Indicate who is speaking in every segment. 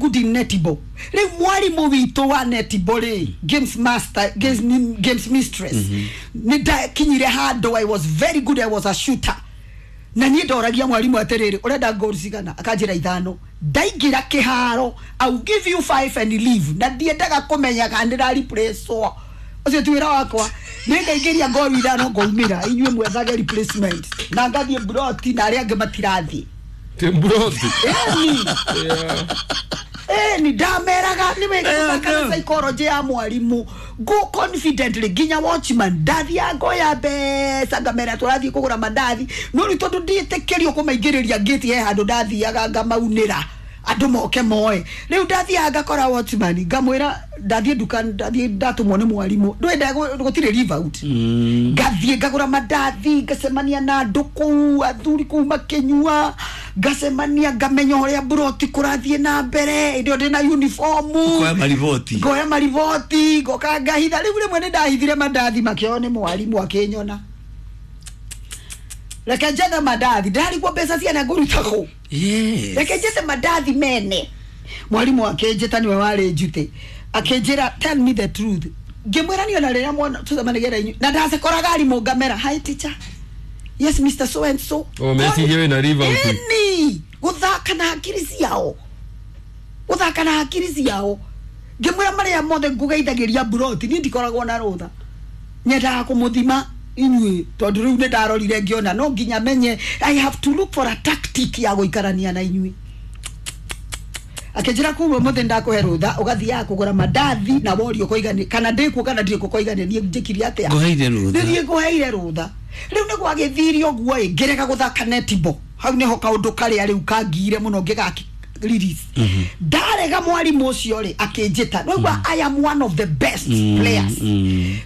Speaker 1: good in netball. Rĩu mwarimũ witũ wa netball rĩ, games master, games mistress, nĩ ndakinyire handũ I was very good, I was a shooter. Na niĩ ndoragia mwarimũ atĩrĩrĩ, ũrenda goal cigana? Akanjĩra 5. Ndaingĩra kĩharo, I will give you 5 and leave. Na ndiendaga kũmenya kana ndĩra replace-wo. Ũcio ti wĩra wakwa. Nĩngaingĩria goal 5 ngaumĩra, inyuĩ mwethage replacement. Na ngathiĩ mburoti na arĩa angĩ matirathiĩ.
Speaker 2: Mburoti.
Speaker 1: Ĩni ndameraga nĩ wega gũthaka na psychology ya mwarimũ. Go confidently nginya watchman ndathiaga ngoya mbeca ngamera tũrathiĩ kũgũra mandathi. No rĩu tondũ ndiĩtĩkĩrio kũmaingĩrĩria gate he handũ ndathiaga ngamaunĩra andũ moke moe. Rĩu ndathiaga ngakora watchman ngamwĩra ndathiĩ nduka, ndathiĩ ndatũmwo nĩ mwarimũ, ndwenda gũtirĩ leave out. Ngathiĩ ngagũra mandathi, ngacemania na andũ kũu, athuri kũu makĩnyua, ngacemania ngamenya ũrĩa mburoti kũrathiĩ na mbere. Hĩndĩ ĩyo ndĩna uniform,
Speaker 3: Ngoya mariboti,
Speaker 1: ngoya mariboti, ngoka ngahitha. Rĩu rĩmwe nĩ ndahithire mandathi makĩoywo nĩ mwarimũ akĩnyona. Reke njethe mandathi, ndarigwo mbeca ciana ngũruta kũ. Reke njethe mandathi mene. Mwarimũ akĩnjĩta, nĩwe warĩ njute, akĩnjĩra tell me the truth. Ngĩmwĩra niĩ ona rĩrĩa mwana tũcemanagia na inyuĩ na ndacekoraga arimũ ngamera hi teacher, yes Mr. So and so.
Speaker 2: O mecirie wĩna leave out.
Speaker 1: Ĩni gũthaka na hakiri ciao, gũthaka na hakiri ciao. Ngĩmwĩra marĩa mothe ngũgeithagĩria mburoti, niĩ ndikoragwo na rũtha, nyendaga kũmũthima inyuĩ tondũ rĩu nĩ ndarorire ngĩona no nginya menye I have to look for a tactic ya gũikarania na inyuĩ. Akĩnjĩra kuma ũmũthĩ ndakũhe rũtha ũgathiaga kũgũra mandathi na worio ũkoiga kana ndĩkuo kana ndirĩ kuo ũkoiga nĩ niĩ njĩkire atĩa,
Speaker 3: Ngũheire rũtha.
Speaker 1: nĩ niĩ ngũheire rũtha. Rĩu nĩ gwagĩthire ũguo ĩ, ngĩrega gũthaka netball. Hau nĩho kaũndũ karĩa rĩu kangire mũno ngĩgaki release. Ndarega mwarimũ ũcio rĩ akĩnjĩta, nĩwaigua I am one of the best players.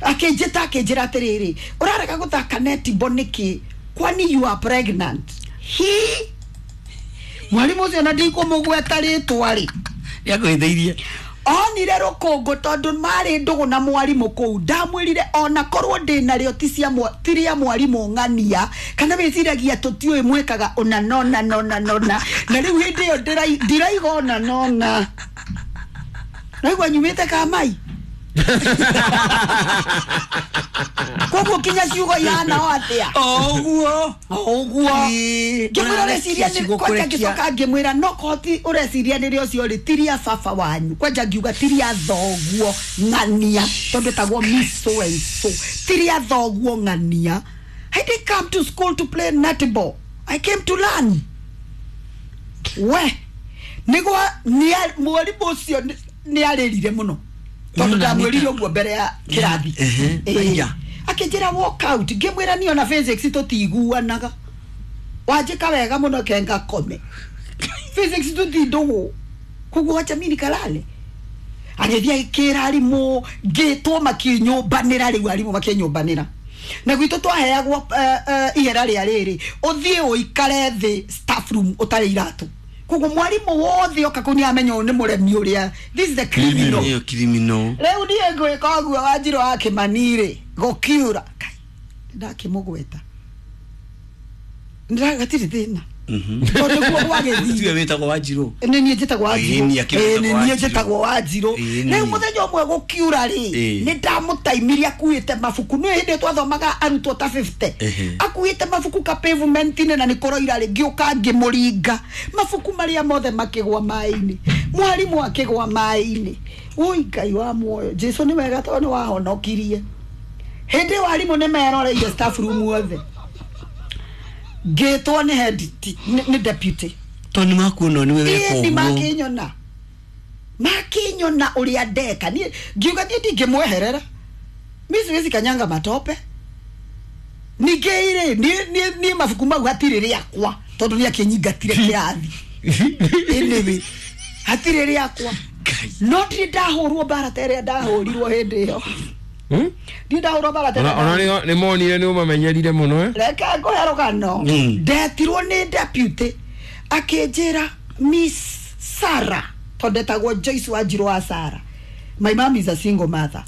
Speaker 1: Akĩnjĩta akĩnjĩra atĩrĩrĩ, ũrarega gũthaka netball nĩkĩ? Kwani you are pregnant? He mwarimũ ũcio na ndikũmũgweta rĩtwa rĩ,
Speaker 3: Nĩakũhĩtĩirie.
Speaker 1: Onire rũkũngũ tondũ marĩ ndũgũ na mwarimũ kũu. Ndamwĩrire ona korwo ndĩ narĩo ti cia ti rĩa mwarimũ ng'ania, kana wĩciragia tũtiũĩ mwĩkaga ũna nona nona nona. Na rĩu hĩndĩ ĩyo ndiraiga ona nona. Naigua nyumĩte Kamai. Koguo kinya ciugo ihana o atĩa?
Speaker 3: Oguo.
Speaker 1: Oguo. Ngĩmwĩra ũreciria nĩ kwanja, ngĩcoka ngĩmwĩra no koti ũreciria nĩ rĩ ũcio rĩ, ti rĩa baba wanyu. Kwanja ngiuga ti rĩa thoguo ng'ania, tondũ etagwo Miss so and so. Ti rĩa thoguo ng'ania. I didn't come to school to play netball. I came to learn. We nĩgwa mwarimũ ũcio nĩ arĩrire mũno tondũ ndamwĩrire ũguo mbere ya kĩrathi. Akĩnjĩra walk out. Ngĩmwĩra niĩ ona physics tũtiguanaga, wanjĩka wega mũno ke ngakome. Physics tũtindũgũ, koguo wacha mimi nikalale. Agĩthiĩ agĩkĩra arimũ, ngĩtwo makĩnyũmbanĩra. Rĩu arimũ makĩnyũmbanĩra na gwitũ twaheagwo ihera rĩa rĩrĩ, ũthiĩ ũikare thĩ staff room ũtarĩ iratũ. Koguo mwarimũ wothe oka kũu nĩamenya ũyũ nĩ mũremi ũrĩa, this is the criminal.
Speaker 3: Ĩyo criminal.
Speaker 1: Rĩu niĩ ngwĩka ũguo Wanjirũ wa Kĩmani rĩ, gũkiura ndakĩmũgweta gatirĩ thĩna tondũ nĩguo gwagĩthiĩ.
Speaker 3: Tiwe wĩtagwo Wanjirũ?
Speaker 1: Nĩ niĩ njĩtagwo Wanjirũ.
Speaker 3: Ĩĩ, niĩ akĩrĩ
Speaker 1: Ĩĩ, nĩ
Speaker 3: wĩtagwo
Speaker 1: niĩ
Speaker 3: Wanjirũ.
Speaker 1: njĩtagwo Wanjirũ.
Speaker 3: Ĩĩ,
Speaker 1: Rĩu
Speaker 3: niĩ.
Speaker 1: mũthenya ũmwe gũkiura rĩ, nĩ ndamũtaimirie akuĩte mabuku. Nĩ hĩndĩ ĩyo twathomaga arutwo ta 50. Akuĩte mabuku ka pavement-inĩ na nĩ kũroira rĩ, ngĩũka ngĩmũringa mabuku marĩa mothe makĩgwa maĩ-inĩ, mwarimũ akĩgwa maĩ-inĩ. Oi Ngai wa muoyo, Jesu nĩ wega tondũ nĩ wahonokirie. Hĩndĩ ĩyo arimũ nĩ meroreire staff room othe. Ngĩtwo nĩ head nĩ deputy.
Speaker 3: Tondũ nĩ makuona nĩwe weka
Speaker 1: Ĩĩ, nĩ
Speaker 3: ũguo.
Speaker 1: makĩnyona, makĩnyona ũrĩa ndeka. Niĩ ngiuga niĩ ndingĩmweherera, mi siwezi kanyanga matope. Ningĩ rĩ, niĩ mabuku mau hatirĩ rĩakwa tondũ nĩ akĩnyingatire kĩrathi. Anyway, hatirĩ rĩakwa, no ndirĩ ndahũrwo mbara ta ĩrĩa ndahũrirwo hĩndĩ ĩyo. Ndirĩ ndahũrwo mbara ta ĩrĩa.
Speaker 2: Ona nĩ monire nĩ ũmamenyerire mũno, eh?
Speaker 1: Reke ngũhe rũgano. Ndetirwo nĩ deputy akĩnjĩra Miss Sarah, tondũ ndetagwo Joyce Wanjirũ wa Sarah, my mom is a single mother.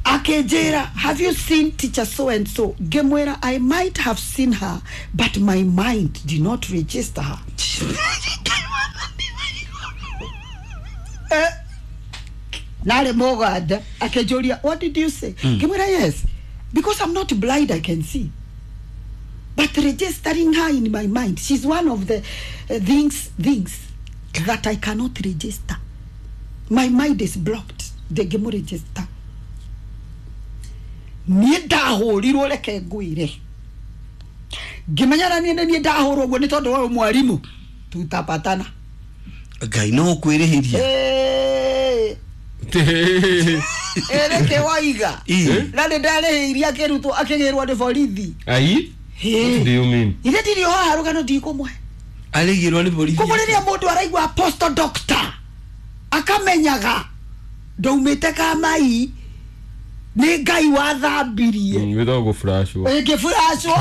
Speaker 1: Akĩnjĩra have you seen teacher so and so? Ngĩmwĩra I might have seen her, but my mind did not register her. Narĩ Mũganda akĩnjũria, "What did you say?" Ngĩmwĩra, "Yes, because I'm not blind, I can see, but registering her in my mind, she's one of the things that I cannot register. My mind is blocked. Ndĩngĩmũregister." Niĩ ndahũrirwo, reke ngwĩre, ngĩmenya na niĩ nĩ niĩ ndahũrwo ũguo nĩ tondũ wa ũyũ mwarimũ tutapatana.
Speaker 3: Ngai no kwĩrĩhĩria.
Speaker 1: Ĩrĩkĩ waiga na nĩ ndarĩhĩirie akĩrutwo akĩgĩrwo nĩ borithi.
Speaker 2: Ai? What do you mean?
Speaker 1: Ithe ndirĩ o haha rũgano ndikũmwe.
Speaker 3: Arĩgĩrwo nĩ borithi.
Speaker 1: Koguo rĩrĩa mũndũ araigua apostle doctor akamenyaga ndaumĩte kamai, nĩ Ngai wathambirie.
Speaker 2: Without gũflashwo.
Speaker 1: Ngĩburacwo,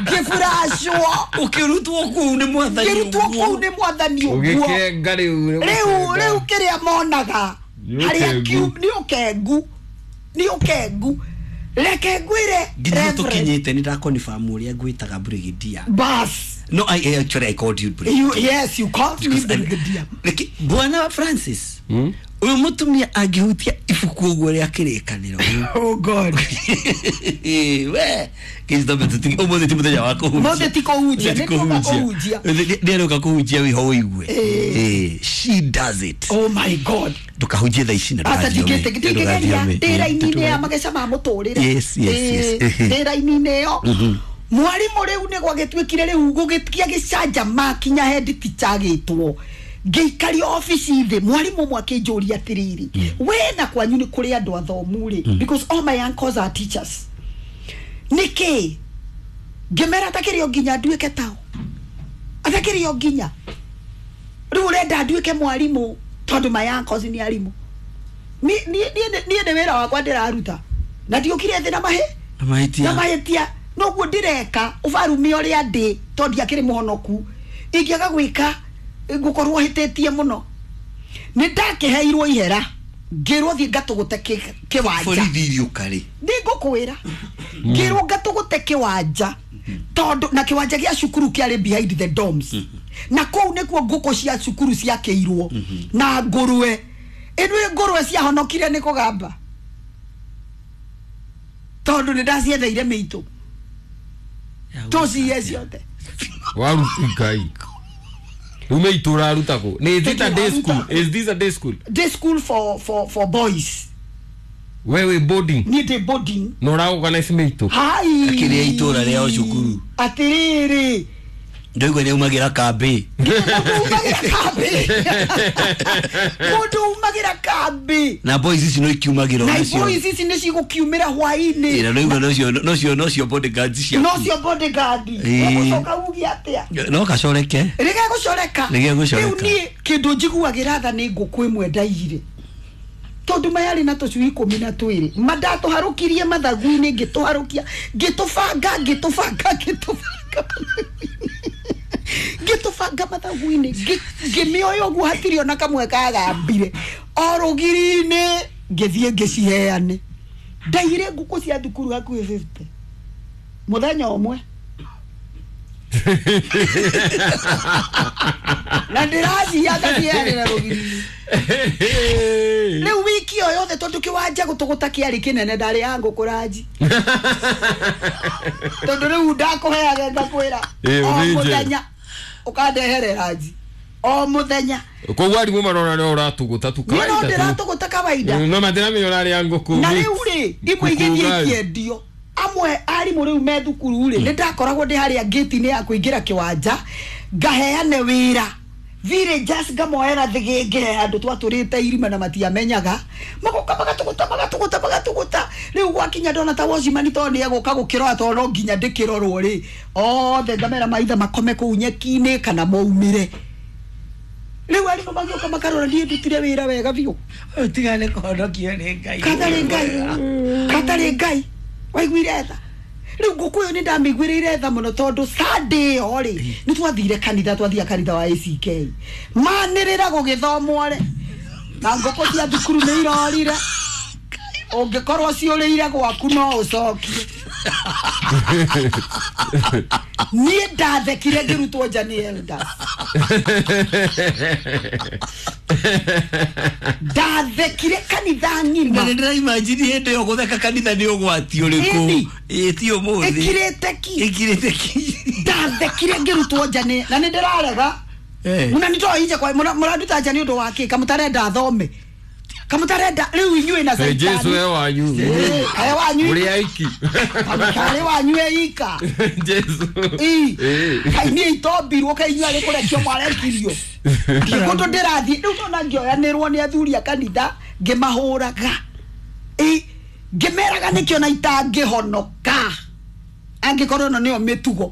Speaker 1: ngĩburacwo.
Speaker 3: Ũkĩrutwo kũu nĩ mwathani.
Speaker 1: Ngĩrutwo kũu nĩ mwathani ũguo.
Speaker 2: Ũgĩkenga rĩu.
Speaker 1: Rĩu kĩrĩa monaga
Speaker 2: Nĩ
Speaker 1: harĩa
Speaker 2: ũkengu.
Speaker 1: nĩ ũkengu, nĩ ũkengu, reke ngwĩre.
Speaker 3: Nginya
Speaker 1: Reverend.
Speaker 3: tũkinyĩte nĩ ndakonfirm ũrĩa ngwĩtaga brigadier.
Speaker 1: Bas.
Speaker 3: No, I actually, I called you brigadier.
Speaker 1: Yes, you called me brigadier.
Speaker 3: Reke, Bwana Francis, ũyũ mũtumia angĩhutia ibuku ũguo rĩa kĩrĩkanĩro.
Speaker 1: Oh God.
Speaker 3: We kĩcitombe, ũmũthĩ ti mũthenya wa kũhunjia.
Speaker 1: Ũmũthĩ ti kũhunjia,
Speaker 3: Ti
Speaker 1: nĩ tũka kũhunjia.
Speaker 3: Nĩarũka kũhunjia wĩho ũigue. She does it.
Speaker 1: Oh my God.
Speaker 3: Ndũkahunjie thaa ici na
Speaker 1: Ata
Speaker 3: ndũgathiome.
Speaker 1: ndingĩgeria
Speaker 3: Ndũgathiome.
Speaker 1: ndĩ raini-inĩ ya mageca ma mũtũrĩre.
Speaker 3: Yes.
Speaker 1: Ndĩ raini-inĩ ĩyo mwarimũ rĩu nĩ gwagĩtuĩkire rĩu gũgĩtia gĩcanja makinya head teacher agĩtwo, ngĩikario obici thĩ. Mwarimũ ũmwe akĩnjũria atĩrĩrĩ, "We na kwanyu nĩ kũrĩ andũ athomu rĩ?" Because all my uncles are teachers. Nĩkĩ? Ngĩmera atakĩrĩ o nginya nduĩke tao, atakĩrĩ o nginya rĩu ũrenda nduĩke mwarimũ tondũ my uncles nĩ arimũ. Niĩ nĩ wĩra wakwa ndĩraruta na ndiũkire thĩ na mahĩ
Speaker 3: Na mahĩtia.
Speaker 1: Na mahĩtia noguo ndĩreka ũbarume ũrĩa ndĩ tondũ ndiakĩrĩ mũhonoku. Ingĩaga gwĩka ngũkorwo hĩtĩtie mũno. Nĩ ndakĩheirwo ihera, ngĩrwo thiĩ ngatũgũte kĩwanja.
Speaker 3: Borithi iriũka rĩ?
Speaker 1: Ndĩngũkwĩra, ngĩrwo ngatũgũte kĩwanja tondũ na kĩwanja gĩa cukuru kĩarĩ behind the dorms, na kũu nĩkuo ngũkũ cia cukuru ciakĩirwo na ngũrwe. Ĩno ngũrwe ciahonokire nĩ kũgamba tondũ nĩ ndaciendeire mĩitũ tũciye ciothe.
Speaker 2: Waruti Ngai. Rĩu mĩitũ ũraruta kũ? Nĩ is it a day school? Is this a day school?
Speaker 1: Day school for boys.
Speaker 2: Wewe boarding.
Speaker 1: Niĩ ndĩ boarding.
Speaker 2: Na ũra organize mĩitũ.
Speaker 1: Hai.
Speaker 3: Akĩrĩa itũra rĩao cukuru.
Speaker 1: Atĩrĩrĩ.
Speaker 3: Ndaigua nĩ aumagĩra kambĩ.
Speaker 1: Mũndũ umagĩra kambĩ, mũndũ umagĩra kambĩ.
Speaker 3: Na boys ici no ikiumagĩra
Speaker 1: Na
Speaker 3: onacio.
Speaker 1: boys ici nĩ cigũkiumĩra hwaĩ-inĩ.
Speaker 3: Ĩra ndaigua nocio bodyguards ciaku.
Speaker 1: Nocio bodyguard. Ũgũcoka uge atĩa?
Speaker 3: No gacoreke.
Speaker 1: Rĩgegũcoreka.
Speaker 3: Rĩgegũcoreka.
Speaker 1: Rĩu niĩ kĩndũ njiguagĩra tha nĩ ngũkũ ĩmwe ndaiyire tondũ mayarĩ na tũcui 12. Mandatũharũkirie mathagu-inĩ, ngĩtũharũkia, ngĩtũbanga, ngĩtũbanga, ngĩtũbanga, ngĩtũbanga mathagu-inĩ, ngĩmĩoya ũguo hatirĩ ona kamwe kagambire o rũgiri-inĩ, ngĩthiĩ ngĩciheane. Ndaiyire ngũkũ cia thukuru hakuhĩ 50 mũthenya ũmwe na ndĩrathiaga ngaciheanĩra rũgiri-inĩ. Rĩu wiki o yothe tondũ kĩwanja gũtũgũta kĩarĩ kĩnene, ndarĩ ya ngũkũ ranji tondũ rĩu ndakũheaga ngakwĩra o
Speaker 2: ũthĩnje.
Speaker 1: Mũthenya ũkandehere ranji o mũthenya.
Speaker 2: Koguo arimũ marona nĩ ũratũgũta tu
Speaker 1: Niĩ no
Speaker 2: kawaida tu.
Speaker 1: ndĩratũgũta kawaida.
Speaker 2: No matiramenya ũrarĩa ngũkũ.
Speaker 1: Na
Speaker 2: mix.
Speaker 1: rĩu rĩ, imwe
Speaker 2: Ngũkũ
Speaker 1: igĩthiĩ
Speaker 2: ugali.
Speaker 1: ikĩendio. Amwe arimũ rĩu me thukuru rĩ, nĩ ndakoragwo ndĩ harĩa ngĩti-inĩ ya kũingĩra kĩwanja ngaheane wĩra villagers, ngamoera thĩgĩngĩ he handũ twatũrĩte irima na matiamenyaga, magoka magatũgũta, magatũgũta, magatũgũta. Rĩu gwakinya ndona ta watchman tondũ nĩ egũka gũkĩrora tondũ no nginya ndĩkĩrorwo rĩ, othe ngamera maitha makome kũu nyeki-inĩ kana maumĩre. Rĩu arimũ magĩũka makarora niĩ ndutire wĩra wega biũ.
Speaker 3: Ũtigane kũhonokio nĩ Ngai.
Speaker 1: Katarĩ Ngai, katarĩ Ngai waiguire tha. Rĩu ngũkũ ĩyo nĩ ndamĩiguĩrĩire tha mũno tondũ Sunday ĩyo rĩ, nĩ twathire kanitha, twathia kanitha wa ACK, manĩrĩra gũgĩthomwo rĩ, na ngũkũ cia thukuru nĩ irorire. Ũngĩkorwo ciũrĩire gwaku no ũcokie. Niĩ ndathekire ngĩrutwo nja nĩ elders. Ndathekire kanitha ng'ima.
Speaker 3: Na nĩ imagine hĩndĩ ĩyo gũtheka kanitha nĩ ũgwati ũrĩkũ. Ĩĩ ti ũmũthĩ.
Speaker 1: Ĩkirĩte ki.
Speaker 3: Ĩkirĩte ki.
Speaker 1: Ndathekire ngĩrutwo nja nĩ na nĩ ndĩrarega. Mũnanitoa nje kwa mũranduta nja nĩ ũndũ wa kĩ? Kamũtarenda thome. Kamũtarenda rĩu inyuĩ na Saitani.
Speaker 2: Jesu e wanyu.
Speaker 1: E wanyu.
Speaker 2: Mũrĩ aiki.
Speaker 1: Karĩ wanyu eika.
Speaker 2: Jesu.
Speaker 1: Kai niĩ itombirwo kai inyuĩ arĩ kũrekio mwarekirio. Kũndũ ndĩrathiĩ rĩu ndona ngĩoyanĩrwo nĩ athuri a kanitha ngĩmahũraga. Ngĩmeraga nĩkĩo na itangĩhonoka. Angĩkorwo ĩno nĩyo mĩtugo.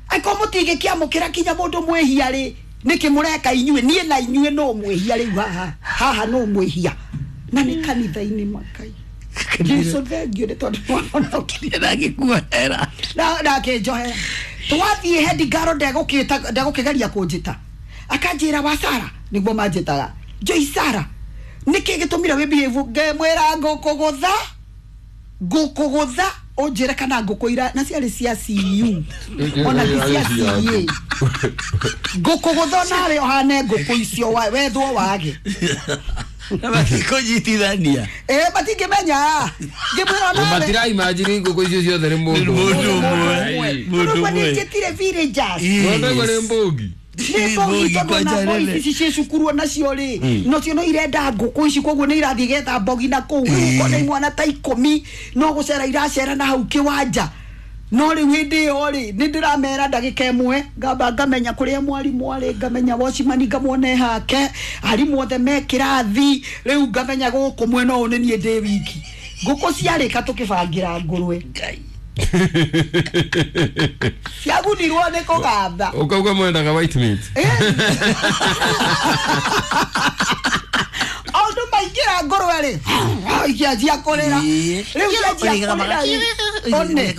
Speaker 1: Angĩkorwo mũtingĩkĩamũkĩra kinya mũndũ mwĩhia rĩ, nĩkĩ mũreka inyuĩ? Niĩ na inyuĩ no mwĩhia rĩu haha. Haha no mwĩhia. Na nĩ kanitha-inĩ makai. Jesu thengiũ nĩ tondũ nĩwahonokire.
Speaker 3: Na ngĩkuohera.
Speaker 1: Na akĩnjohera. Twathiĩ head girl ndegũkĩgeria kũnjĩta. Akanjĩra wa Sara nĩguo manjĩtaga. Joy Sara. Nĩkĩ gĩtũmire wĩ behave? Ngĩmwĩra ngũkũgũtha. Ngũkũgũtha ũnjĩre kana ngũkũ ira na ciarĩ cia CU. Ona ti cia CA. Ngũkũgũtha nawe ũhane ngũkũ icio wethwo wage.
Speaker 3: Na matikũnyitithania.
Speaker 1: Matingĩmenya. Ngĩmwĩra nawe.
Speaker 2: Matira imagine ngũkũ icio ciothe nĩ mũndũ.
Speaker 3: Mũndũ ũmwe.
Speaker 1: Mũndũ ũmwe. Nĩnjĩtire villagers.
Speaker 2: Mũndũ ũmwe nĩ mbũgi.
Speaker 1: Nĩ mbũgi tondũ na boys ici ciĩ cukuru onacio rĩ, nocio no irenda ngũkũ ici koguo nĩ irathiĩ getha mbogi na kũu. Rĩu ũkona imwana ta 10 no gũcera iracera na hau kĩwanja. No rĩu hĩndĩ ĩyo rĩ, nĩ ndĩramera ndagĩka ĩmwe, ngamba ngamenya kũrĩa mwarimũ arĩ, ngamenya watchman ngamwona hake, arimũ othe me kĩrathi, rĩu ngamenya gũkũ mwena ũyũ nĩ niĩ ndĩ wiki. Ngũkũ ciarĩka tũkĩbangĩra ngũrwe.
Speaker 3: Ngai.
Speaker 1: Ciagunirwo nĩ kũgamba.
Speaker 2: Ũkauga mwendaga white meat.
Speaker 1: Andũ maingĩra ngũrwe rĩ, ikĩanjia kũrĩra. Rĩu cianjia kũrĩra rĩ, one.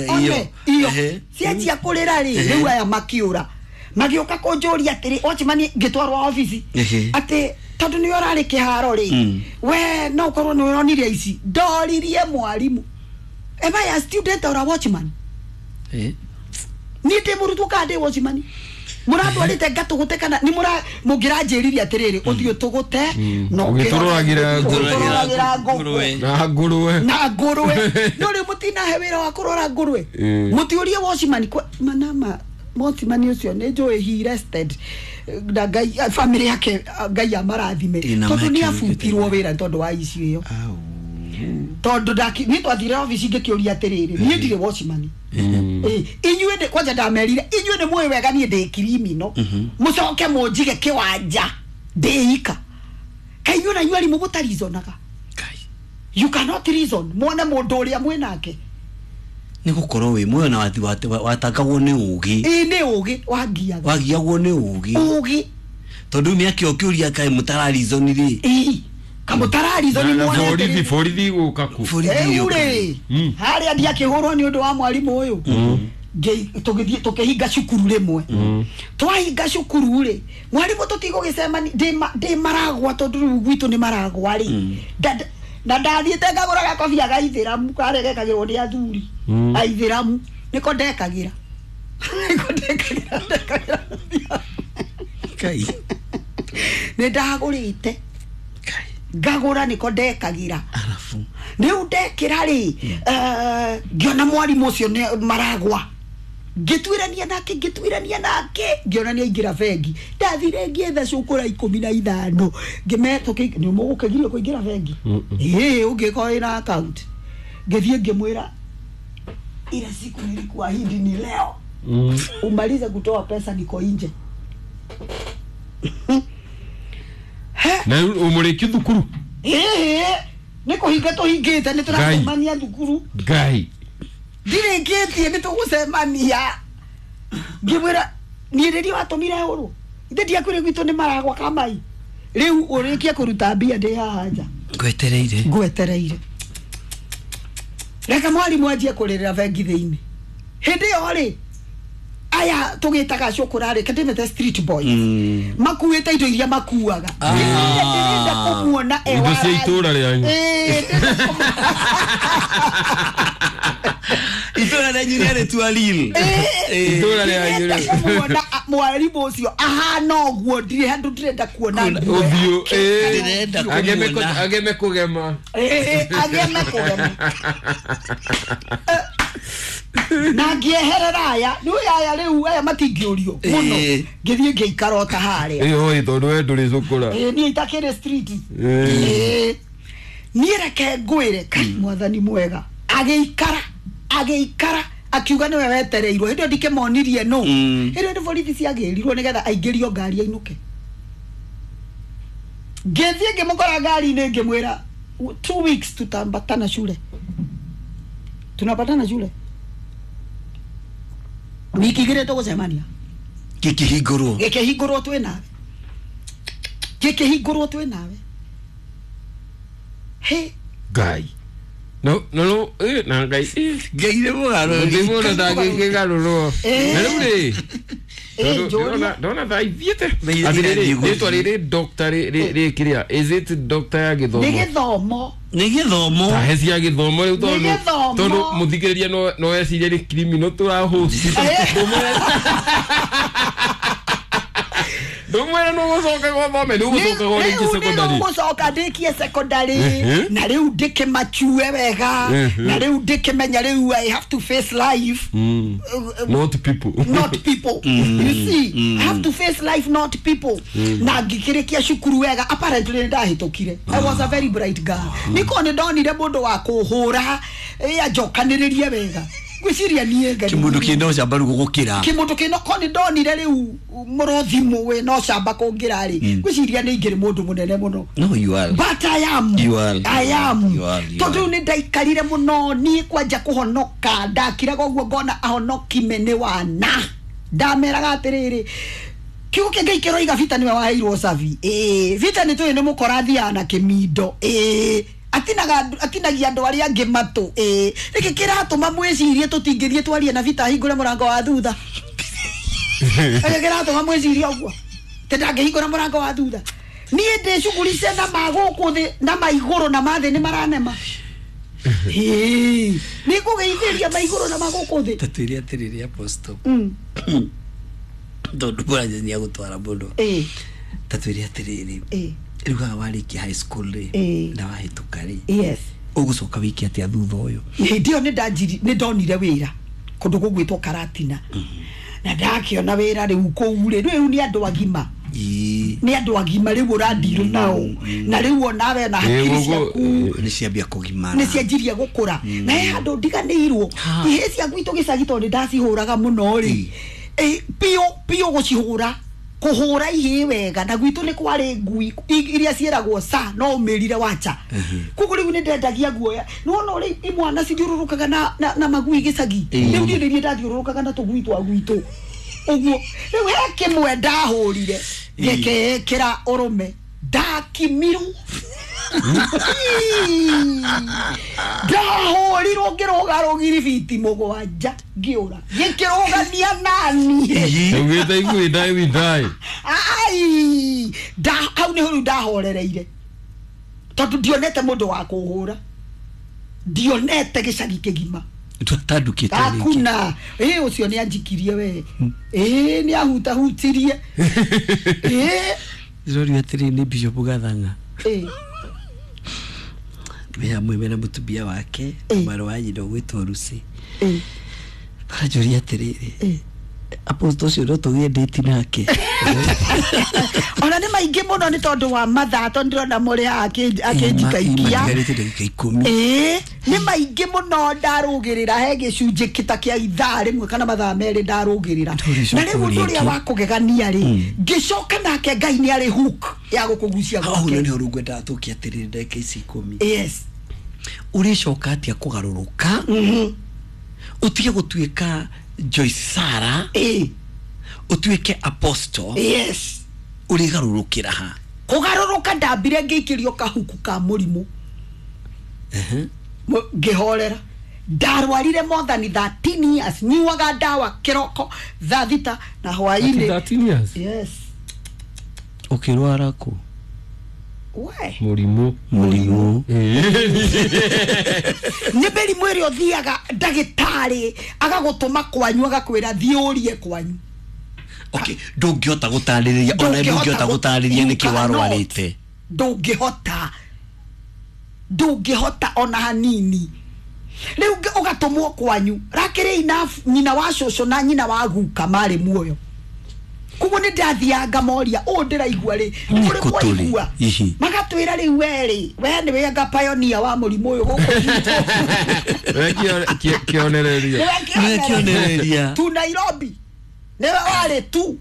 Speaker 1: One, iyo. Cianjia kũrĩra rĩ, rĩu aya makiũra. Magĩũka kũnjũria atĩrĩ, watchman ngĩtwarwo obici. Atĩ tondũ nĩwe ũrarĩ kĩharo rĩ, we no ũkorwo nĩwe ũronire ici. Ndoririe mwarimũ. Am I a student or a watchman? Niĩ ndĩ mũrutwo kana ndĩ watchman? Mũrandwarĩte ngatũgũte kana nĩ mũngĩranjĩririe atĩrĩrĩ, ũthiĩ ũtũgũte na
Speaker 2: ũgĩtũroragĩra
Speaker 1: ngũrwe.
Speaker 2: Na ngũrwe.
Speaker 1: Na ngũrwe. No rĩu mũtinahe wĩra wa kũrora ngũrwe. Mũtiũrie watchman manama watchman ũcio nĩ njũĩ he rested. Na Ngai family yake Ngai amarathime. Tondũ nĩ abutirwo wĩra tondũ wa issue ĩyo. Tondũ niĩ twathire obici ngĩkĩũria atĩrĩrĩ, niĩ ndirĩ watchman. Inyuĩ nĩ kwanja ndamerire, inyuĩ nĩ mũĩ wega niĩ ndĩ criminal. Mũcoke mũnjige kĩwanja ndĩ ika. Kaĩ inyuĩ na inyuĩ arimũ mũtarizonaga. You cannot reason. Muone mũndũ ũrĩa mwĩ nake.
Speaker 3: Nĩ gũkorwo wĩ muoyo na watangagwo nĩ ũgĩ.
Speaker 1: Ĩĩ nĩ ũgĩ wangiaga.
Speaker 3: Wagiagwo nĩ ũgĩ.
Speaker 1: Ũgĩ.
Speaker 3: Tondũ mĩaka ĩyo ũkĩũria kaĩ mũtararizoni rĩ.
Speaker 1: Ĩĩ. Kamũtararizoni muone.
Speaker 2: Borithi borithi gũka kũ.
Speaker 1: Rĩu rĩ, harĩa ndiakĩhũrwo nĩ ũndũ wa mwarimũ ũyũ. Tũgĩthiĩ tũkĩhinga cukuru rĩmwe. Twahinga cukuru rĩ, mwarimũ tũtigũgĩcemania ndĩ maragwa tondũ rĩu gwitũ nĩ maragwa rĩ. Na ndathiĩte ngagũra gakobia ga ithĩramu karĩa gekagĩrwo nĩ athuri. Aithĩramu nĩko ndekagĩra. Nĩko ndekagĩra ndekagĩra.
Speaker 3: Ngai.
Speaker 1: Nĩ ndagũrĩte.
Speaker 3: Ngai.
Speaker 1: Ngagũra nĩko ndekagĩra.
Speaker 3: Arabu.
Speaker 1: Rĩu ndekĩra rĩ, ngĩona mwarimũ ũcio nĩ maragwa. Ngĩtuĩrania nake ngĩona nĩ aingĩra bengi. Ndathire ngĩetha cũkũra 15. Ngĩmetũkĩ nĩ mũgũkĩgirio kũingĩra bengi. Ĩĩ ũngĩkorwo wĩna account. Ngĩthiĩ ngĩmwĩra ila siku nilikuahidi ni leo. Umalize kutoa pesa niko nje.
Speaker 2: Na umureki thukuru.
Speaker 1: Ĩĩ nĩ kũhinga tũhingĩte nĩ tũracemania thukuru.
Speaker 2: Ngai.
Speaker 1: Ndirĩkĩtie nĩ tũgũcemania. Ngĩmwĩra niĩ rĩrĩa watũmire hũrwo. Ithe ndiakwĩrire gwitũ nĩ maragwa kamai. Rĩu ũrĩkie kũruta mbia ndĩ haha nja.
Speaker 3: Ngwetereire.
Speaker 1: Ngwetereire. Reke mwarimũ anjie kũrĩrĩra bengi thĩinĩ. Hĩndĩ ĩyo rĩ, aya tũgĩtaga cũkũra rĩ, kĩndĩmĩte street boys. Makuĩte indo iria makuaga. Ndĩrenda kũmuona e
Speaker 2: Indo cia itũũra rĩanyu.
Speaker 1: Ĩĩ,
Speaker 3: Itũra rĩanyu rĩarĩ lil.
Speaker 2: Itũra rĩanyu
Speaker 1: Ndirenda kũmuona mwarimũ ũcio ahana ũguo, ndirĩ handũ ndĩrenda kuona nguo
Speaker 2: Ũthiũ,
Speaker 1: yake.
Speaker 3: Ndĩrenda kũmuona.
Speaker 2: Ageme kũgema.
Speaker 1: Ageme kũgema. Na ngĩeherera aya, nĩ aya rĩu aya matingĩũrio mũno. Ngĩthiĩ ngĩikara o ta harĩa.
Speaker 2: Ĩ tondũ we ndũrĩ cũkũra.
Speaker 1: Niĩ itakĩrĩ street. Niĩ reke ngwĩre, kai mwathani mwega. Agĩikara akiuga nĩwe wetereirwo. Hĩndĩ ĩyo ndikĩmonirie nũ. Hĩndĩ ĩyo nĩ borithi ciagĩrirwo nĩgetha aingĩrio ngari ainũke. Ngĩthiĩ ngĩmũkora ngari-inĩ ngĩmwĩra 2 weeks tutaambatana shule. Tunapatana shule. Wiki igĩrĩ tũgũcemania.
Speaker 3: Gĩkĩhingũrwo.
Speaker 1: Gĩkĩhingũrwo twĩ nawe. Gĩkĩhingũrwo twĩ nawe. He.
Speaker 2: Ngai. No no na Ngai.
Speaker 3: Ngai nĩ mũgarũri.
Speaker 2: Ndĩ mũndũ ndangĩkĩgarũrwo. Na rĩu rĩ, ndona thaa ithiĩte. Atĩrĩrĩ, rĩtwa rĩrĩ doctor rĩ kĩrĩa, is it doctor ya gĩthomo?
Speaker 1: Nĩ gĩthomo.
Speaker 3: Nĩ gĩthomo.
Speaker 2: Tahe cia gĩthomo rĩu tondũ mũthikĩrĩria no ecirie nĩ criminal tũrahost. Ndũmwĩra nĩ ũgũcoka gwathome, nĩ ũgũcoka rĩngĩ secondary.
Speaker 1: Rĩu nĩ ndĩkie secondary, na rĩu ndĩkĩmachue wega, na rĩu ndĩkĩmenya rĩu I have to face life.
Speaker 2: Not people.
Speaker 1: Not people. You see, I have to face life, not people. Na ngĩkĩrĩkia cukuru wega, apparently nĩ ndahĩtũkire. I was a very bright girl. Nĩko nĩ ndonire mũndũ wa kũhũra, anjokanĩrĩrie wega. Ngwĩciria niĩ Ngai.
Speaker 3: Kĩmũndũ kĩna ũcamba rĩu gũgũkĩra.
Speaker 1: Kĩmũndũ kĩna ko nĩ ndonire rĩu mũrũthi wĩna ũcamba kũngĩra rĩ. Ngwĩciria nĩ ingĩrĩ mũndũ mũnene mũno.
Speaker 3: No, you are.
Speaker 1: But I am.
Speaker 3: You are.
Speaker 1: I am.
Speaker 3: You are.
Speaker 1: Tondũ nĩ ndaikarire mũno niĩ kwanja kũhonoka, ndakiraga ũguo ngona ahonoki mene wana. Ndameraga atĩrĩrĩ, kiugo kĩa Ngai kĩroiga Vita nĩwe waheirwo cabi. Vita nĩ tũĩ nĩ mũkora athiaga na kĩmindo. Atinagia andũ arĩa angĩ matũ. Nĩkĩ kĩratũma mwĩcirie tũtingĩthiĩ twarie na Vita ahingũre mũrango wa thutha? Nĩkĩ kĩratũma mwĩcirie ũguo? Atĩ ndangĩhingũra mũrango wa thutha? Niĩ ndĩ cuguri cia na ma gũkũ thĩ na ma igũrũ na ma thĩ nĩ maranema. Nĩ ngũgeithĩria ma igũrũ na ma gũkũ thĩ.
Speaker 3: Ta twĩre atĩrĩrĩ Apostle. Tondũ mũranja nĩ agũtwara mũno. Ta twĩre atĩrĩrĩ. Rĩu haha warĩkia high school rĩ, na wahĩtũka rĩ,
Speaker 1: yes,
Speaker 3: ũgũcoka wĩke atĩa thutha ũyũ?
Speaker 1: Hĩndĩ ĩyo nĩ ndonire wĩra kũndũ gũgwĩtwo Karatina. Na ndakĩona wĩra rĩu kũu rĩ, rĩu nĩ andũ agima. Nĩ andũ agima rĩu ũrandirwo nao. Na rĩu onawe na hakiri ciaku
Speaker 3: nĩ ciambia kũgimara.
Speaker 1: Nĩ cianjirie gũkũra. Na he handũ ndiganĩirwo. Ihĩĩ cia gwitũ gĩcagi tondũ nĩ ndacihũraga mũno rĩ. Piũ piũ gũcihũra. Kũhũra ihĩĩ wega na gwitũ nĩ kwarĩ ngui iria ciĩragwo sa no ũmĩrire wacha. Koguo rĩu nĩ ndendagia guoya. Nĩwona ũrĩa imwana cithiũrũrũkaga na magui gĩcagi. Rĩu niĩ nĩ niĩ ndathiũrũrũkaga na tũgui twa gwitũ. Ũguo rĩu he kĩmwe ndahũrire gĩkĩĩkĩra ũrũme, ndakimirwo. Ndahũrirwo ngĩrũga rũgiri biti mũgwanja ngĩũra. Gĩkĩrũgania nani.
Speaker 2: Ugĩte if we die, we die.
Speaker 1: Ai, hau nĩho rĩu ndahorereire. Tondũ ndionete mũndũ wa kũhũra. Ndionete gĩcagi kĩgima.
Speaker 3: Tũtandũkĩte rĩngĩ.
Speaker 1: Hakuna. Ũcio nĩ anjikirie we. Nĩ ahutahutirie.
Speaker 3: Ndĩrorio atĩrĩrĩ nĩ Bishop Gathang'a. Me hamwe mena mũtumia wake, mwarĩ wa nyina ũgwĩtwo Lucy. Aranjũria atĩrĩrĩ, Apostle ũcio no tũgĩe date nake.
Speaker 1: Ona nĩ maingĩ mũno nĩ tondũ wa mathaa, tondũ ndĩrona mũrĩ haha akĩnjikaikia.
Speaker 3: Matigarĩte ndagĩka 10.
Speaker 1: Nĩ maingĩ mũno ndarũgĩrĩra, he gĩcunjĩ kĩta kĩa ithaa rĩmwe kana mathaa merĩ ndarũgĩrĩra. Na rĩu ũndũ ũrĩa wa kũgegania rĩ, ngĩcoka nake Ngai nĩ arĩ hook ya gũkũgucia
Speaker 3: Hau
Speaker 1: gwake.
Speaker 3: nĩho rĩu ngwendaga tũke atĩrĩrĩ ndagĩka ici 10.
Speaker 1: Yes.
Speaker 3: Ũrĩcoka atĩa kũgarũrũka? Ũtige gũtuĩka Joyce Sarah, ũtuĩke Apostle.
Speaker 1: Yes.
Speaker 3: Ũrĩgarũrũkĩra ha?
Speaker 1: Kũgarũrũka ndambire ngĩikĩrio kahuku ka mũrimũ. Ngĩhorera. Ndarwarire more than 13 years. Nyuaga ndawa kĩroko thaa 6 na hwaĩ-inĩ.
Speaker 2: 13 years?
Speaker 1: Yes.
Speaker 3: Ũkĩrwara kũ?
Speaker 1: We
Speaker 2: Mũrimũ.
Speaker 3: Mũrimũ.
Speaker 1: Nĩ mĩrimũ ĩrĩa ũthiaga ndagĩtarĩ agagũtũma kwanyu, agakwĩra thiĩ ũrie kwanyu.
Speaker 3: Okay, ndũngĩhota gũtarĩrĩria, ona ndũngĩhota gũtarĩria nĩkĩ warwarĩte.
Speaker 1: Ndũngĩhota, ndũngĩhota ona hanini. Rĩu ũgatũmwo kwanyu. Rakĩrĩ enough, nyina wa cũcũ na nyina wa guka marĩ muoyo, koguo nĩ ndathiaga ngamoria ũũ ndĩraigua rĩ,
Speaker 3: Nĩ
Speaker 1: kũrĩ
Speaker 3: kũ tũrĩ?
Speaker 1: mwaigua?
Speaker 3: Ihi.
Speaker 1: Magatwĩra rĩu we rĩ, we nĩwe anga pioneer wa mũrimũ ũyũ gũkũ gwitũ.
Speaker 2: We kĩonereria.
Speaker 1: Nĩwe
Speaker 3: Nĩwe kĩonereria.
Speaker 1: Tu Nairobi nĩwe warĩ tu.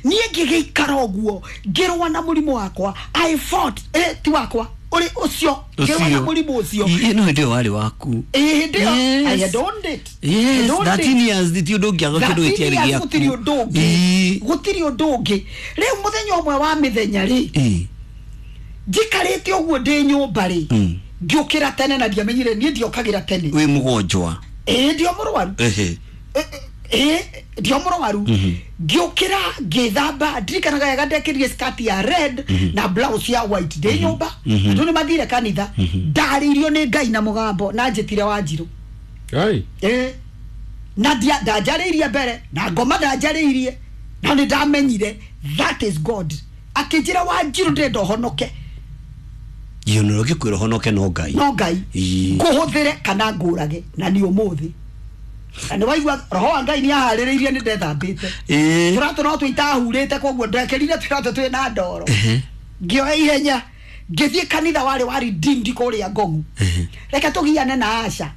Speaker 1: Niĩ ngĩgĩikara ũguo ngĩrũa na mũrimũ wakwa. I fought, ti wakwa ũrĩ ũcio, ngĩrũa na mũrimũ ũcio.
Speaker 3: Ĩ, no hĩndĩ ĩyo warĩ waku.
Speaker 1: Ĩ, hĩndĩ ĩyo.
Speaker 3: Yes.
Speaker 1: I had owned it. I
Speaker 3: Yes,
Speaker 1: had owned
Speaker 3: 13
Speaker 1: it.
Speaker 3: years ti ũndũ ũngĩaga kĩndũ
Speaker 1: 13
Speaker 3: gĩtiarĩ
Speaker 1: years
Speaker 3: gĩaku.
Speaker 1: gũtirĩ ũndũ ũngĩ.
Speaker 3: Ĩ.
Speaker 1: Gũtirĩ ũndũ ũngĩ. Rĩu mũthenya ũmwe wa mĩthenya rĩ,
Speaker 3: Ĩ.
Speaker 1: njikarĩte ũguo ndĩ nyũmba rĩ,
Speaker 3: Mm.
Speaker 1: ngĩũkĩra tene na ndiamenyire niĩ ndiokagĩra tene.
Speaker 3: Wĩ mũgonjwa.
Speaker 1: Ĩ, ndio mũrwaru.
Speaker 3: Ehe.
Speaker 1: Ĩ, ndio mũrwaru. Ngĩũkĩra ngĩthamba, ndirikanaga wega ndekĩrire skirt ya red na blouse ya white ndĩ nyũmba. Andũ nĩ mathire kanitha. Ndarĩirio nĩ Ngai na mũgambo na njĩtire Wanjirũ.
Speaker 2: Ai.
Speaker 1: Ĩ, na ndanjarĩirie mbere na ngoma ndanjarĩirie, na nĩ ndamenyire that is God. Akĩnjĩra, Wanjirũ, ndĩrenda ũhonoke.
Speaker 3: Ĩ, ona ũngĩkwĩra ũhonoke no Ngai.
Speaker 1: No Ngai.
Speaker 3: Ĩ.
Speaker 1: Ngũhũthĩre kana ngũrage. Na nĩ ũmũthĩ na nĩ waigua roho wa Ngai nĩ aharĩrĩirie, nĩ ndethambĩte.
Speaker 3: Ĩ.
Speaker 1: Tũratũ no twĩtahurĩte, koguo ndekĩrire tũratũ twĩna ndoro.
Speaker 3: Ehe.
Speaker 1: Ngĩoya ihenya ngĩthiĩ kanitha warĩ wa Redeemed kũrĩa Ngogu.
Speaker 3: Ehe.
Speaker 1: Reke tũgiane na Asha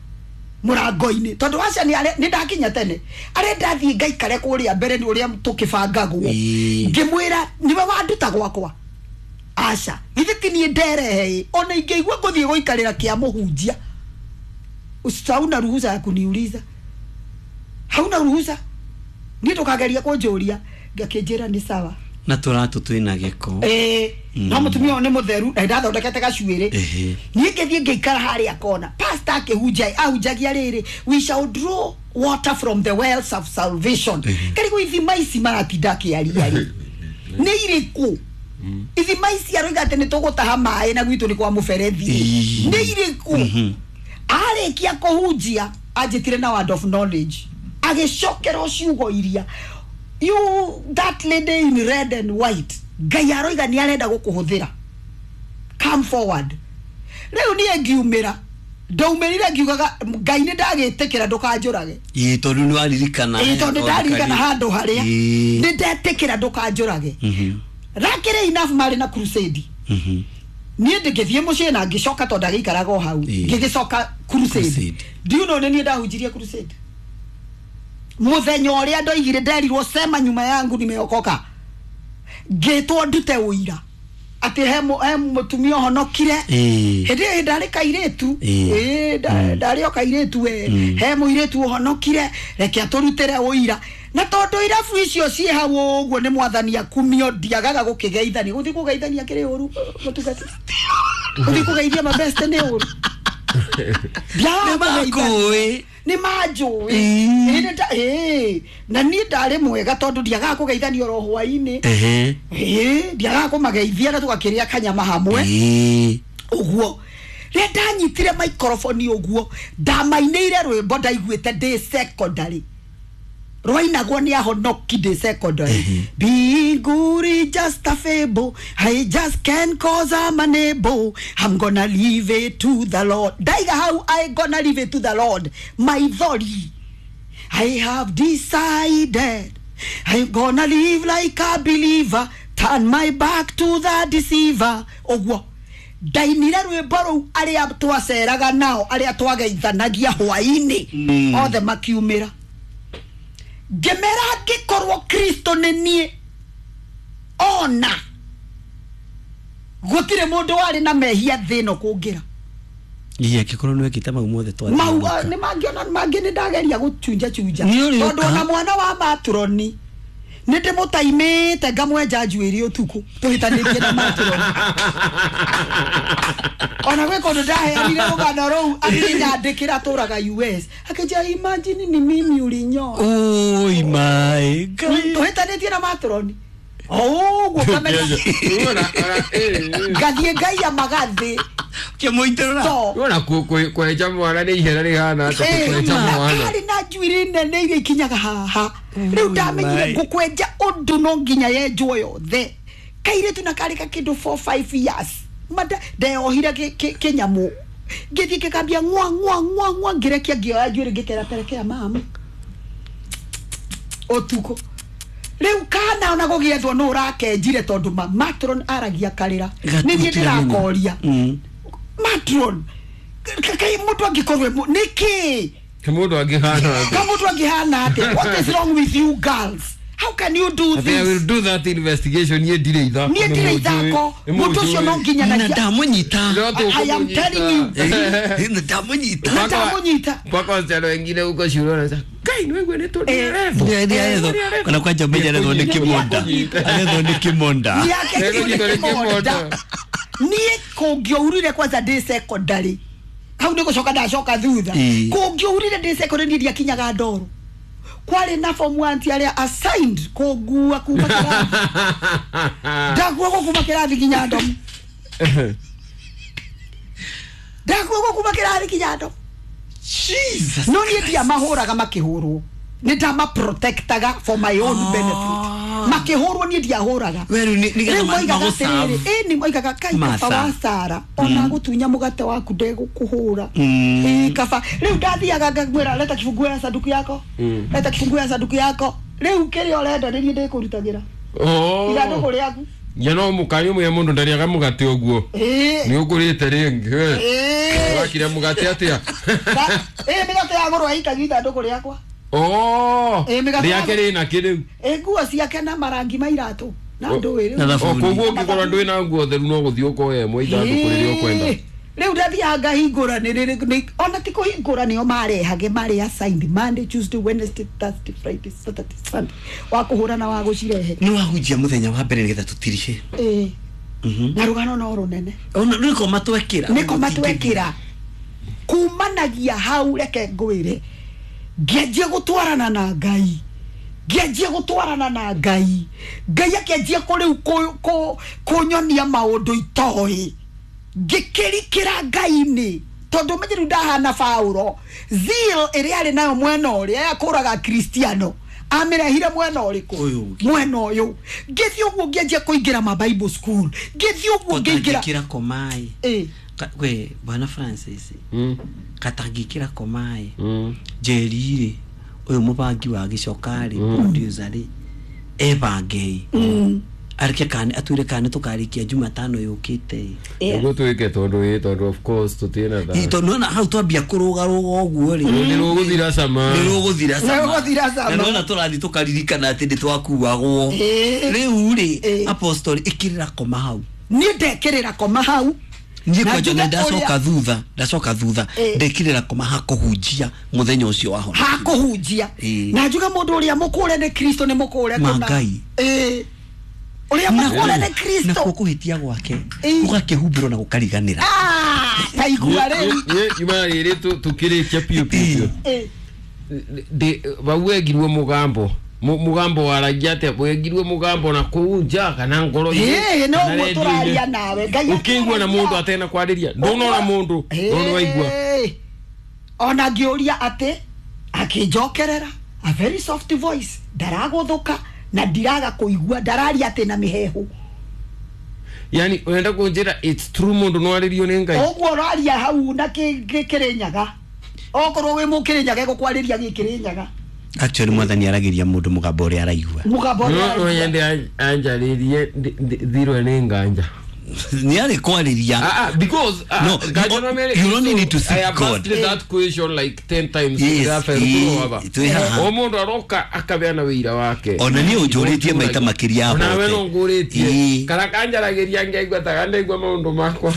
Speaker 1: mũrango-inĩ, tondũ Asha nĩ ndakinya tene, arenda thiĩ ngaikare kũrĩa mbere nĩ ũrĩa tũkĩbangagwo.
Speaker 3: Ĩ.
Speaker 1: Ngĩmwĩra nĩwe wanduta gwakwa. Asha, githĩ ti niĩ nderehe ĩ, ona ingĩigua ngũthiĩ gũikarĩra kĩa mũhunjia, hauna ruhusa ya kuniuliza, hauna ruhusa, niĩ ndũkageria kũnjũria. Ngakĩnjĩra nĩ sawa.
Speaker 3: Na tũratũ twĩna gĩko.
Speaker 1: Ĩĩ, no mũtumia ũyũ nĩ mũtheru na ndathondekete gacuĩrĩ.
Speaker 3: Ehe.
Speaker 1: Niĩ ngĩthiĩ ngĩikara harĩa kona. Pastor akĩhunjia, ahunjagia rĩrĩ, "We shall draw water from the wells of salvation." Karigwo ithima ici maratinda akĩaria rĩ nĩ irĩkũ? Ithima ici aroiga atĩ nĩ tũgũtaha maĩ na gwitũ nĩ kwa mũberethi
Speaker 3: Ĩĩ.
Speaker 1: nĩ irĩkũ? Arĩkia kũhunjia anjĩtire na word of knowledge, agĩcokera o ciugo iria, "You, that lady in red and white, Ngai aroiga nĩ arenda gũkũhũthĩra, come forward." Rĩu niĩ ngiumĩra, ndaumĩrire ngiugaga, Ngai, nĩ ndagĩtĩkĩra, ndũkanjũrage.
Speaker 3: Ĩ, tondũ nĩ waririkana.
Speaker 1: Ĩ, tondũ ndaririkana handũ harĩa
Speaker 3: Ĩ.
Speaker 1: nĩ ndetĩkĩra ndũkanjũrage. Rakĩrĩ enough marĩ na crusade. Niĩ ndĩngĩthiĩ mũciĩ na ngĩcoka, tondũ ndagĩikaraga o hau.
Speaker 3: Ĩ.
Speaker 1: Ngĩgĩcoka crusade.
Speaker 3: Crusade.
Speaker 1: Do you know nĩ niĩ ndahunjirie crusade mũthenya ũrĩa ndoigire, nderirwo, "Sema nyuma yangu nimeokoka"? Ngĩtwo ndute ũira atĩ he mũtumia ũhonokire.
Speaker 3: Ĩ.
Speaker 1: Hĩndĩ ĩyo ndarĩ kairĩtu.
Speaker 3: Ĩ.
Speaker 1: Ĩ, ndarĩ o kairĩtu we. He mũirĩtu ũhonokire, reke atũrutĩre ũira. Na tondũ irabu icio ciĩ hau ũguo, nĩ mwathani akumio, ndiagaga gũkĩgeithania. Gũthiĩ kũgeithania kĩrĩ ũru, mũtungati? Gũthiĩ kũgeithia mabeste nĩ ũru? Ndiagaga
Speaker 3: Nĩ
Speaker 1: kũgeithania.
Speaker 3: makũĩ.
Speaker 1: Nĩ manjũĩ.
Speaker 3: Ĩ.
Speaker 1: Ĩ, ĩ, na niĩ ndarĩ mwega tondũ ndiagaga kũgeithania oro hwainĩ.
Speaker 3: Ehe.
Speaker 1: Ĩ, ndiagaga kũmageithia na tũgakĩrĩa kanyama hamwe.
Speaker 3: Ĩ.
Speaker 1: Ũguo rĩrĩa ndanyitire microphone ũguo, ndamainĩire rwĩmbo ndaiguĩte ndĩ secondary, rwainagwo nĩ ahonoki ndĩ secondary: "Mbinguri just a fable, I just can't cause I'm unable, I'm gonna leave it to the Lord." Ndaiga hau "I gonna leave it to the Lord", maithori. "I have decided I'm gonna live like a believer, turn my back to the deceiver." Ũguo ndainire rwĩmbo rũu, arĩa twaceraga nao, arĩa twageithanagia hwainĩ, othe makiumĩra. Ngĩmera angĩkorwo Kristo nĩ niĩ, ona gũtirĩ mũndũ warĩ na mehia thĩ ĩno kũngĩra.
Speaker 3: Ĩ, angĩkorwo nĩ wekĩte mau mothe.
Speaker 1: Mau
Speaker 3: twathiũrũrũka.
Speaker 1: Nĩ mangĩona mangĩ nĩ ndageria gũchunja chunja.
Speaker 3: Nĩ ũrĩũka.
Speaker 1: Tondũ ona mwana wa matroni nĩ ndĩmũtaimĩte, ngamwenja njuĩrĩ ũtukũ tũhĩtanĩtie na matroni. Ona gwĩ kũndũ ndaheanire rũgano rũu, akĩnyandĩkĩra, tũraga US, akĩnjĩra, "Imagine ni mimi ulinyoa."
Speaker 3: Oi my Ngai.
Speaker 1: Tũhĩtanĩtie na matroni. Ũguo ngamenya ngathiĩ ngaiya magathĩ
Speaker 3: kĩmũitũrũra
Speaker 2: Wona kwenja mwana nĩ ihera rĩhana atĩa kwenja mwana.
Speaker 1: Karĩ na njuĩrĩ nene iria ikinyaga haha. Rĩu ndamenyire ngũkwenja ũndũ no nginya yenjwo yothe. Kairĩtu na karĩ ka kĩndũ 4 5 years. Mada ndeohire kĩnyamũ. Ngĩthiĩ ngĩkambia ng'wa ng'wa ng'wa ng'wa ngĩrekia ngĩoya njuĩrĩ ngĩkera perekea mama. Ũtukũ. Rĩu kana ona gũgĩethwo nũ ũrakenjire tondũ matron aragia karĩra. Nĩ niĩ ndĩrakoria. Matron kai mũndũ angĩkorwo nĩkĩ?
Speaker 2: Mũndũ angĩhana atĩa?
Speaker 1: Mũndũ angĩhana atĩa? What is wrong with you girls? How can you do this?
Speaker 2: I will do that investigation. Niĩ ndirĩ ithako.
Speaker 1: Niĩ ndirĩ ithako. Mũndũ ũcio no nginya
Speaker 3: na ndamũnyita.
Speaker 1: I am telling you.
Speaker 3: Ndamũnyita.
Speaker 1: Ndamũnyita.
Speaker 2: Mpaka wasichana wengine huko shule wanasema Kai ni wewe nĩ
Speaker 3: tũrerethwo. Kana kwanja menya arethwo nĩ kĩmonda. Arethwo nĩ kĩmonda.
Speaker 1: Nĩ niĩ kũngĩaurire kwanza ndĩ secondary. Hau nĩ gũcoka ndacoka thutha. Kũngĩaurire ndĩ secondary niĩ ndiakinyaga ndoro. Kwarĩ na form 1 ti arĩa assigned kũngua kuma kĩrathi. Ndakuagwo kuma kĩrathi nginya ndomu. Ndakuagwo kuma kĩrathi nginya ndomu.
Speaker 3: Jesus.
Speaker 1: No niĩ ndiamahũraga makĩhũrwo. Nĩ ndamaprotectaga for my own benefit. Makĩhũrwo niĩ ndiahũraga.
Speaker 3: Rĩu
Speaker 1: moigaga atĩrĩrĩ, ĩ nĩ moigaga kai kaba wa Sara ona gũtunya mũgate waku ndegũkũhũra. Ĩ kaba rĩu ndathiaga ngagwĩra leta kifunguo ya sanduku yako. Leta kifunguo ya sanduku yako. Rĩu kĩrĩa ũrenda nĩ niĩ ndĩkũrutagĩra. Ithandũkũ rĩaku.
Speaker 2: Ya no mũkanyu mwe mũndũ ndarĩaga mũgate ũguo. Nĩ ũkũrĩte rĩngĩ. Wakire mũgate atĩa?
Speaker 1: Ĩ mĩgate yagũrwo ĩikagio ithandũkũ rĩakwa.
Speaker 2: Rĩake rĩna kĩ rĩu?
Speaker 1: Nguo ciake na marangi ma iratũ na ndũĩ
Speaker 2: rĩu. Koguo ũngĩkorwo ndwĩ na nguo theru no gũthiĩ ũkoya ĩmwe ithandũkũ rĩrĩa ũkwenda.
Speaker 1: Rĩu ndathiaga ngahingũra nĩ ona ti kũhingũra nĩo marehage marĩ assigned Monday, Tuesday, Wednesday, Thursday, Friday, Saturday, Sunday wa kũhũra na wa gũcirehe.
Speaker 3: Nĩ wahunjia mũthenya wa mbere nĩgetha tũtirihe.
Speaker 1: Na rũgano no rũnene.
Speaker 3: Ona nĩko matwekĩra.
Speaker 1: Nĩko matwekĩra. Kumanagia hau reke ngwĩre. Ngĩanjia gũtwarana na Ngai. Ngĩanjia gũtwarana na Ngai. Ngai akĩanjia kũrĩu kũnyonia maũndũ itoĩ. Ngĩkĩrikĩra Ngai-inĩ. Tondũ menye rĩu ndahana Paũro. Zeal ĩrĩa arĩ nayo mwena ũrĩa yakũraga Kristiano. Amĩrehire mwena ũrĩkũ? Mwena ũyũ. Ngĩthiĩ ũguo ngĩanjia kũingĩra ma Bible school. Ngĩthiĩ ũguo ngĩingĩra.
Speaker 3: Katangĩkĩra komai. We Bwana Francis. Katangĩkĩra komai. Njeri-rĩ ũyũ mũbangi wa gĩcoka-rĩ producer-rĩ ebangei areke kana atwĩre kana tũkarĩkia Jumatano yũkĩte.
Speaker 2: Nĩguo twĩke tondũ tondũ of course tũtirĩ na thaa.
Speaker 3: Tondũ nĩwona hau twambia kũrũgarũga ũguo rĩ
Speaker 2: nĩ rũgũthira cama.
Speaker 3: Nĩ rũgũthira cama.
Speaker 1: Nĩ rũgũthira cama.
Speaker 3: Na nĩwona tũrathiĩ tũkaririkana atĩ nĩ twakuagwo. Rĩu rĩ apostle ĩkĩrĩra koma hau.
Speaker 1: Niĩ ndekĩrĩra koma hau.
Speaker 3: Niĩ kwanja nĩ ndacoka thutha ndekirĩra koma hakũhunjia mũthenya ũcio wahona.
Speaker 1: Hakũhunjia. Na njuga mũndũ ũrĩa mũkũre nĩ Kristo nĩ mũkũre
Speaker 3: kũna. Ngai.
Speaker 1: Ũrĩa mũkũre nĩ Kristo.
Speaker 3: Nakuo kũhĩtia gwake gũgakĩhumbĩrwo na gũkariganĩra.
Speaker 1: Taigua rĩu.
Speaker 2: Niĩ nyuma rĩrĩ tũkĩrĩkia piũ piũ. Vau wegirwo mũgambo. Mugambo waragia atĩa? Wegirwo mũgambo na kũu nja kana ngoro-inĩ?
Speaker 1: No ũguo tũraria nawe. Ngai
Speaker 2: ũkĩigua na mũndũ atena kwarĩria. Ndũnona mũndũ, no nĩwaigua.
Speaker 1: Ona ngĩũria atĩ akĩnjokerera a very soft voice. Ndaragũthũka na ndiraga kũigua ndararia atĩ na mĩhehu.
Speaker 2: Yani ũrenda kũnjĩra it's true mũndũ no arĩrio nĩ Ngai.
Speaker 1: Ũguo ũraria hau na kĩrĩnyaga. Okorwo wĩ mũkĩrĩnyaga egũkwarĩria gĩkĩrĩnyaga.
Speaker 3: Actually mwathani aragĩria mũndũ mũgambo ũrĩa araigua.
Speaker 1: Mũgambo ũrĩa
Speaker 2: araigua. No nyende anjarĩrie thirwe nĩ nganja.
Speaker 3: Nĩ arĩ kwarĩria.
Speaker 2: Because
Speaker 3: no, you only need to seek
Speaker 2: I have
Speaker 3: God.
Speaker 2: asked that question like 10 times.
Speaker 3: Yes,
Speaker 2: O mũndũ aroka akabeana wĩira wake.
Speaker 3: Ona niĩ ũnjũrĩtie maita makĩria
Speaker 2: hote. Ona we no ngũrĩtie. Kana kanjaragĩria ngaigua ta kandaigua maũndũ makwa.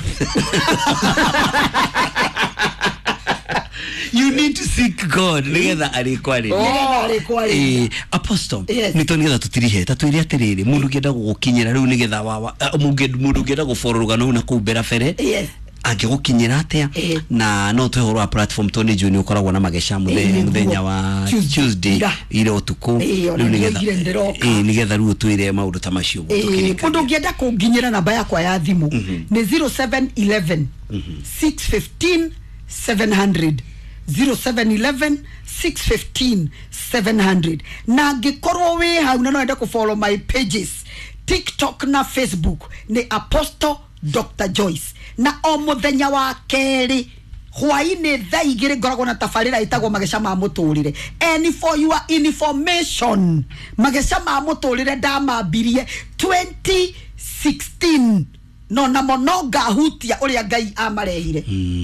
Speaker 3: You need to seek God. Nigetha arĩkwarĩria. Apostle, nĩ to nigetha tũtirihe ta twĩre atĩrĩrĩ mũndũ ũngĩenda gũgũkinyĩra rĩu nigetha wawa mũndũ ũngĩenda gũbororoga rũgano na kũu mbere bere.
Speaker 1: Yes.
Speaker 3: Angĩgũkinyĩra atĩa? Na no tũhe ũhoro wa platform, tondũ nĩ njũĩ nĩ ũkoragwo na mageca mũthenya wa Tuesday ira ũtukũ. Rĩu nĩgetha rĩu ũtwĩre maũndũ ta macio.
Speaker 1: Mũndũ ũngĩenda kũnginyĩra, namba yakwa ya thimũ nĩ 0711 615 700, 0711 615 700. Na angĩkorwo wĩ hau na no wende kũ follow my pages, TikTok na Facebook nĩ Apostle Dr Joyce. Na o mũthenya wa kerĩ hwainĩ thaa 2 ngoragwo na tabarĩra ĩtagwo Mageca ma Mũtũrĩre. And for your information, Mageca ma Mũtũrĩre ndamambirie 2016, no namo no ngahutia ũrĩa Ngai amarehire,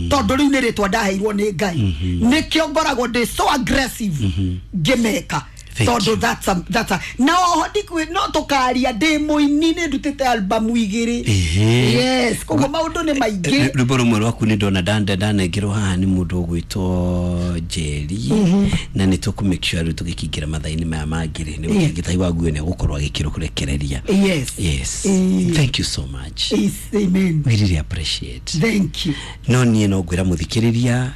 Speaker 1: tondũ rĩu nĩ rĩtwa ndaheirwo nĩ Ngai, nĩkĩo ngoragwo ndĩ so aggressive ngĩmeka, tondũ that's a na oho ndikwi no tũkaria ndĩ mũini, nĩ ndutĩte albamu 2. Yes, koguo maũndũ nĩ maingĩ.
Speaker 3: Rwĩmbo rũmwe rwaku nĩ ndona ndanengerwo haha nĩ mũndũ ũgwĩtwo Njeri, na nĩ tũkũ make sure rĩu tũgĩkĩingĩra mathaa-inĩ maya mangĩ rĩ, nĩ Gĩtai wa Nguo nĩ egũkorwo agĩkĩrũrekereria.
Speaker 1: Yes.
Speaker 3: Yes, thank you so much.
Speaker 1: Yes, amen.
Speaker 3: We really appreciate.
Speaker 1: Thank you.
Speaker 3: No niĩ no ngwĩra mũthikĩrĩria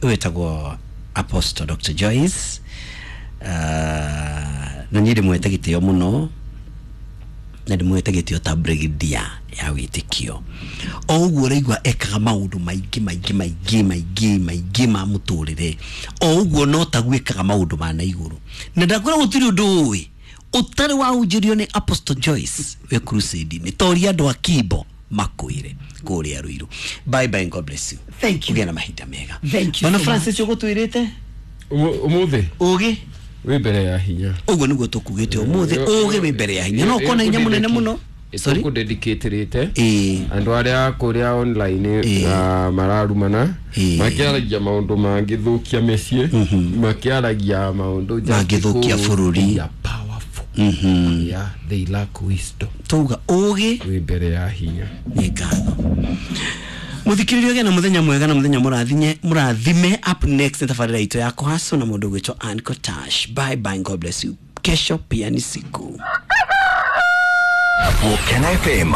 Speaker 3: wĩtagwo Apostle Dr Joyce, na niĩ ndĩmwete gĩtĩo mũno, na ndĩmwete gĩtĩo ta brigadier ya wĩtĩkio. O ũguo ũraigua ekaga maũndũ maingĩ maingĩ maingĩ maingĩ maingĩ ma mũtũrĩre, o ũguo no taguo ekaga maũndũ ma na igũrũ, na ndakwĩra gũtirĩ ũndũ ũĩ ũtarĩ wahunjĩrio nĩ Apostle Joyce wĩ crusade-inĩ, toria andũ a Kimbo makwĩre kũrĩa Ruiru. Bye bye, God bless you.
Speaker 1: Thank you.
Speaker 3: Ũgĩe na mahinda mega.
Speaker 1: Thank you.
Speaker 3: Bwana Francis, ũgũtwĩrĩte
Speaker 2: Ũmũthĩ
Speaker 3: ũgĩ
Speaker 2: wĩ mbere ya hinya.
Speaker 3: Ũguo nĩguo tũkugĩte ũmũthĩ, ũgĩ wĩ mbere ya hinya, no ũkona hinya mũnene mũno.
Speaker 2: Sorry, kũdedicate andũ arĩa kũrĩa online mararumana, makĩaragia maũndũ mangĩthũkia mĩciĩ, makĩaragia maũndũ
Speaker 3: mangĩthũkia bũrũri.
Speaker 2: Yeah, they lack wisdom.
Speaker 3: Tuga ũgĩ
Speaker 2: wĩ mbere ya hinya.
Speaker 3: Nĩ ngatho. Muthikiririo, gĩa na muthenya mwega na muthenya mũrathime. Up next nĩ tabarĩra itũ ya kũhacwo na mũndũ ũgwĩtwo Ann Kotash. Bye bye, God bless you. Kesho pia ni siku.
Speaker 4: Gukena FM.